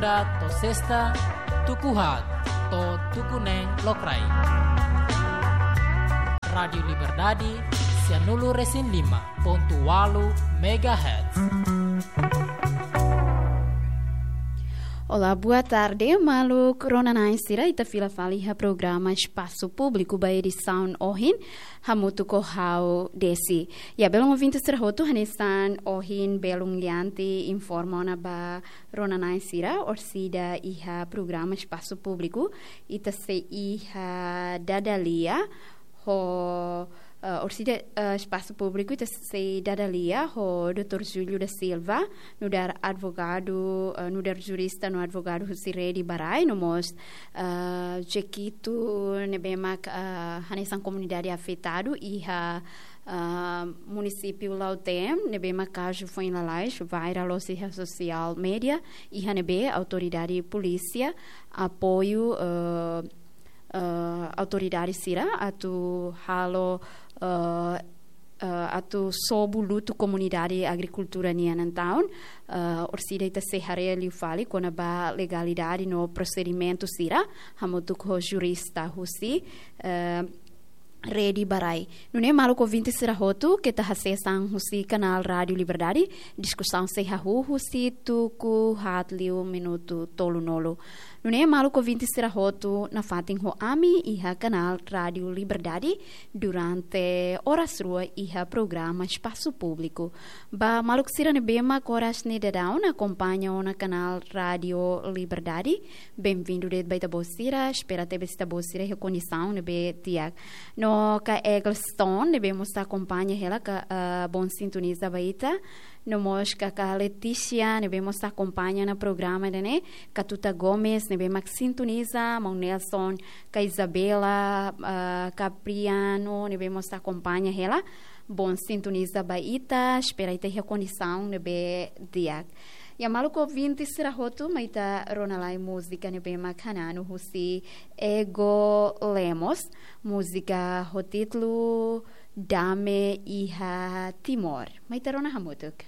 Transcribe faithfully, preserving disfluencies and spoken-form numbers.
To'o sesta, tuku haat to'o tuku neen lokraik. Rádiu Liberdade, sianulu-resin-lima pontu ualu megahertz. Olá, boa tarde, maluk rona-na'in sira, ita fila fali iha programa Espasu Públiku ba edisaun ohin, hamutuk ho ha'u Desi. Ya, belun ouvinte sira hotu, hanesan ohin belun lian ita informa ona ba rona-na'in sira, orsida iha programa Espasu Públiku, ita sei iha dada lia ho, eh, orsida, eh, Espasu Públiku, ita sei dada lia ho doutór Júlio da Silva, nu'udar advogadu, eh, nu'udar jurista no advogadu husi Rede ba Rai, no mós, eh, Jequitos ne'ebé mak, eh, hanesan komunidade afetadu iha, eh, munisípiu Lautém, ne'ebé mak kazu foin lalais, viral loos iha social media, iha ne'ebé autoridade polísia apoiu, eh, eh, autoridade sira atu halo, eh, eh, atu sobu lutu komunidade agrikultura nian. Entaun, eh, orsida ita sei haree liu fali kona-ba legalidade no prosedimentu sira, hamutuk ho jurista husi, eh, Rede ba Rai. Nune'e maluk ouvinte sira hotu, keta hasees an husi kanál Rádiu Liberdade, diskusaun sei hahú husi tuku haat liu minutu tolunulu. Nune'e maluk ouvinte sira hotu nafatin ho ami iha kanál Rádiu Liberdade durante oras rua iha programa Espasu Públiku. Ba maluk sira ne'ebé mak oras ne'e daudaun akompaña ona kanál Rádiu Liberdade, benvindu de'it ba ita-boot sira, espera tebes ita-boot sira iha kondisaun ne'ebé di'ak. No kaer Eggleston ne'ebé mós ita akompaña hela, ka, eh, bom sintoniza ba ita. No mós kaer Letícia ne'ebé mós ita akompaña ona programa ida-ne'e, Katuta Gomes ne'ebé mak sintoniza, maun Nelson, kaer Isabela, eh, Capriano ne'ebé mós ita akompaña hela. Bom sintoniza ba ita, espera ita iha kondisaun ne'ebé di'ak. Ya maluk ouvinte sira hotu, mai ita rona lai múzika ne'ebé mak hananu husi Ego Lemos, múzika ho títulu Dame iha Timor. Mai ita rona hamutuk.